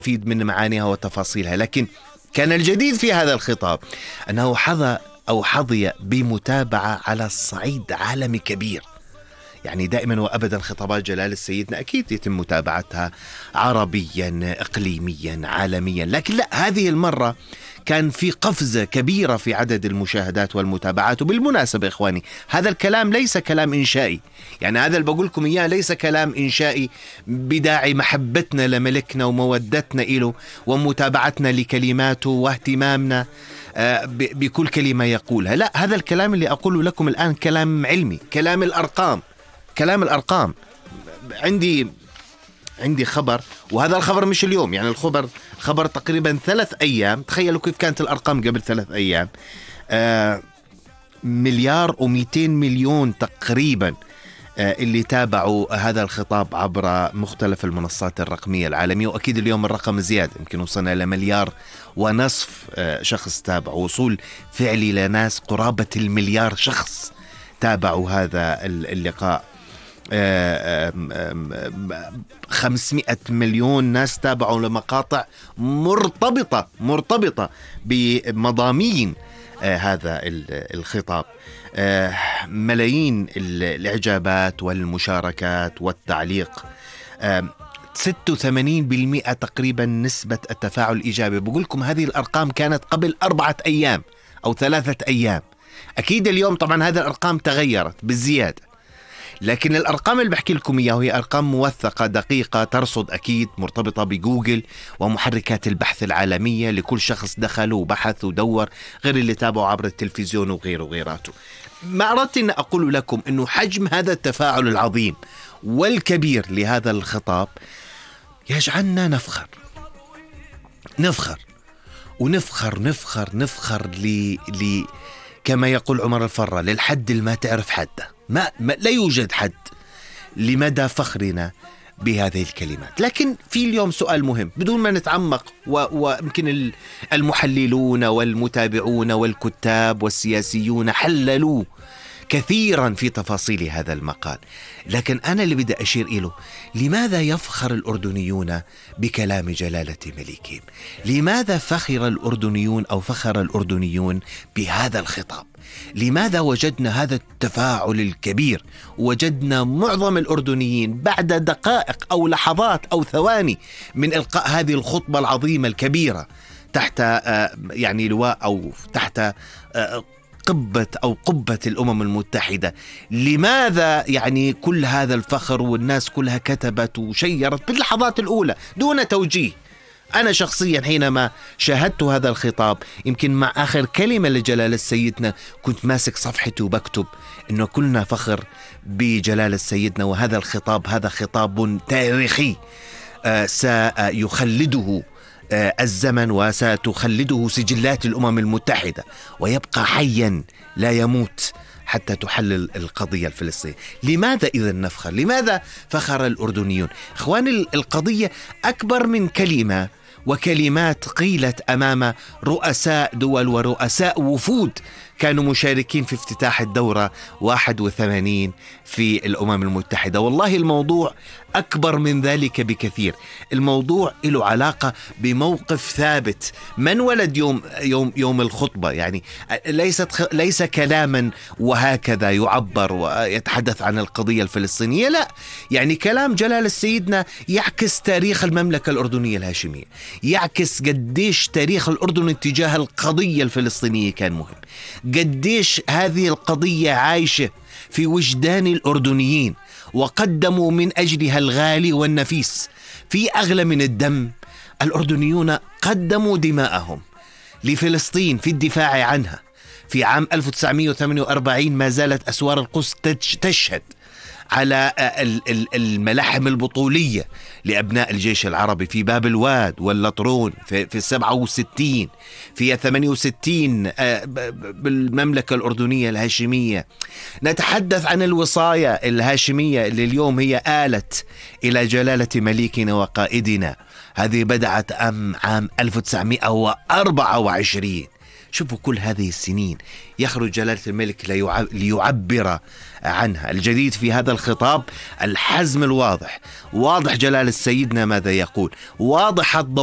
نستفيد من معانيها وتفاصيلها. لكن كان الجديد في هذا الخطاب أنه حظي بمتابعة على الصعيد عالمي كبير. يعني دائما وأبدا خطابات جلالة سيدنا أكيد يتم متابعتها عربيا إقليميا عالميا، لكن لا، هذه المرة كان في قفزة كبيرة في عدد المشاهدات والمتابعات. وبالمناسبة إخواني، هذا الكلام ليس كلام إنشائي، يعني هذا اللي بقول لكم إياه ليس كلام إنشائي بداعي محبتنا لملكنا ومودتنا إله ومتابعتنا لكلماته واهتمامنا بكل كلمة يقولها. لا، هذا الكلام اللي أقوله لكم الآن كلام علمي، كلام الأرقام. عندي خبر، وهذا الخبر مش اليوم، يعني خبر تقريبا 3 أيام. تخيلوا كيف كانت الأرقام قبل 3 أيام. 1,200,000,000 تقريبا اللي تابعوا هذا الخطاب عبر مختلف المنصات الرقمية العالمية، وأكيد اليوم الرقم زيادة، يمكن وصلنا إلى 1,500,000 شخص تابع، وصول فعلي لناس قرابة 1,000,000,000 شخص تابعوا هذا اللقاء. 500 مليون ناس تابعوا لمقاطع مرتبطة بمضامين هذا الخطاب. ملايين الإعجابات والمشاركات والتعليق. 86% تقريبا نسبة التفاعل الإيجابي. بقول لكم هذه الأرقام كانت قبل 4 أيام أو 3 أيام. أكيد اليوم طبعا هذه الأرقام تغيرت بالزيادة، لكن الأرقام اللي بحكي لكم إياه هي أرقام موثقة دقيقة، ترصد أكيد، مرتبطة بجوجل ومحركات البحث العالمية لكل شخص دخل وبحث ودور، غير اللي تابعوا عبر التلفزيون وغيراته. ما أردت أن أقول لكم أنه حجم هذا التفاعل العظيم والكبير لهذا الخطاب يجعلنا نفخر كما يقول عمر الفرة، للحد اللي ما تعرف حده. لا يوجد حد لمدى فخرنا بهذه الكلمات. لكن في اليوم سؤال مهم بدون ما نتعمق، ويمكن المحللون والمتابعون والكتاب والسياسيون حللوا كثيرا في تفاصيل هذا المقال، لكن أنا اللي بدي أشير إله: لماذا يفخر الأردنيون بكلام جلالة ملكهم؟ لماذا فخر الأردنيون بهذا الخطاب؟ لماذا وجدنا هذا التفاعل الكبير؟ وجدنا معظم الأردنيين بعد دقائق أو لحظات أو ثواني من إلقاء هذه الخطبة العظيمة الكبيرة تحت يعني لواء أو تحت قبة الأمم المتحدة، لماذا يعني كل هذا الفخر والناس كلها كتبت وشيرت باللحظات الأولى دون توجيه؟ أنا شخصيا حينما شاهدت هذا الخطاب، يمكن مع آخر كلمة لجلالة سيدنا كنت ماسك صفحتي وبكتب إنه كلنا فخر بجلالة سيدنا، وهذا الخطاب هذا خطاب تاريخي سيخلده الزمن وستخلده سجلات الأمم المتحدة، ويبقى حيا لا يموت حتى تحلل القضية الفلسطينية. لماذا إذا نفخر؟ لماذا فخر الأردنيون؟ إخواني، القضية أكبر من كلمة وكلمات قيلت أمام رؤساء دول ورؤساء وفود كانوا مشاركين في افتتاح الدورة 81 في الأمم المتحدة. والله الموضوع أكبر من ذلك بكثير. الموضوع له علاقة بموقف ثابت. من ولد يوم الخطبة، يعني ليس كلاما وهكذا يعبر ويتحدث عن القضية الفلسطينية، لا، يعني كلام جلالة سيدنا يعكس تاريخ المملكة الأردنية الهاشمية، يعكس قديش تاريخ الأردن تجاه القضية الفلسطينية كان مهم، قديش هذه القضية عايشة في وجدان الأردنيين، وقدموا من أجلها الغالي والنفيس. في أغلى من الدم، الأردنيون قدموا دماءهم لفلسطين في الدفاع عنها. في عام 1948 ما زالت أسوار القدس تشهد على الملاحم البطولية لأبناء الجيش العربي في باب الواد واللطرون في 67، في 68 بالمملكة الأردنية الهاشمية. نتحدث عن الوصاية الهاشمية اللي اليوم هي آلت إلى جلالة مليكنا وقائدنا. هذه بدأت عام 1924. شوفوا كل هذه السنين يخرج جلالة الملك ليعبر عنها. الجديد في هذا الخطاب الحزم الواضح، واضح جلالة سيدنا ماذا يقول، واضح الضوابط